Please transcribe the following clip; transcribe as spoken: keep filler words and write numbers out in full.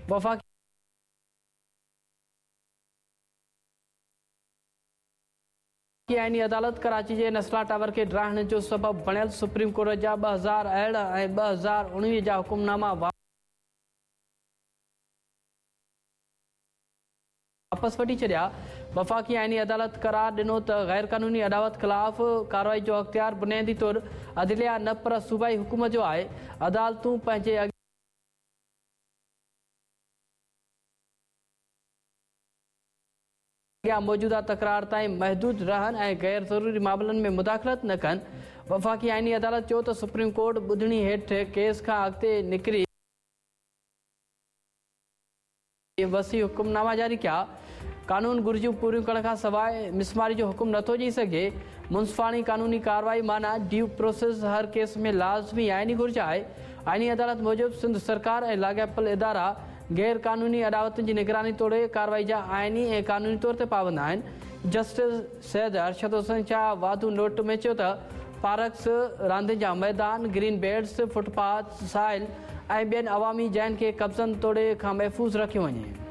वफ़ाक़ी आइनी अदालत कराची जे नस्ला टावर खे ड्राहण जो सबबु बणियल सुप्रीम कोर्ट जा ॿ हज़ार अरिड़हं ऐं ॿ हज़ार उणिवीह जा हुकुमनामा वापसि वठी छॾिया। वफ़ाक़ी आइनी अदालत करार ॾिनो त ग़ैर क़ानूनी अॾावत ख़िलाफ़ कार्रवाई जो अख़्तियार बुनियादी तौर अदलिया न पर सूबाई हुकूमत जो आहे। अदालतूं पंहिंजे अॻियां मौजूदा तकरार ताईं महदूद रहनि ऐं गैर ज़रूरी मामलनि में मुदाख़लत न कनि। वफ़ाक़ी आइनी अदालत चयो त सुप्रीम कोर्ट ॿुधणी हेठि केस खां अॻिते निकिरी वसी हुकुमनामा जारी कया। कानून घुर्जूं पूरियूं करण खां सवाइ मिसमारी जो हुकुम नथो ॾेई सघे। मुंसिफाणी कानूनी कार्रवाई माना ड्यू प्रोसेस हर केस में लाज़मी आइनी घुर्ज आहे। आइनी अदालत मूजिबि सिंध सरकार ऐं लाॻापियल इदारा गैर क़ानूनी अॾावतुनि जी निगरानी तोड़े कार्रवाई जा आइनी ऐं क़ानूनी तौर ते पाबंद आहिनि। जस्टिस सैद अरशद हुसैन शाह वाधू नोट में चयो त पार्क्स, रांदियुनि जा मैदान, ग्रीन बेल्ट्स, फुटपाथ, साहिल ऐं ॿियनि अवामी जायुनि खे कब्ज़नि तोड़े खां महफ़ूज़ रखियो वञे।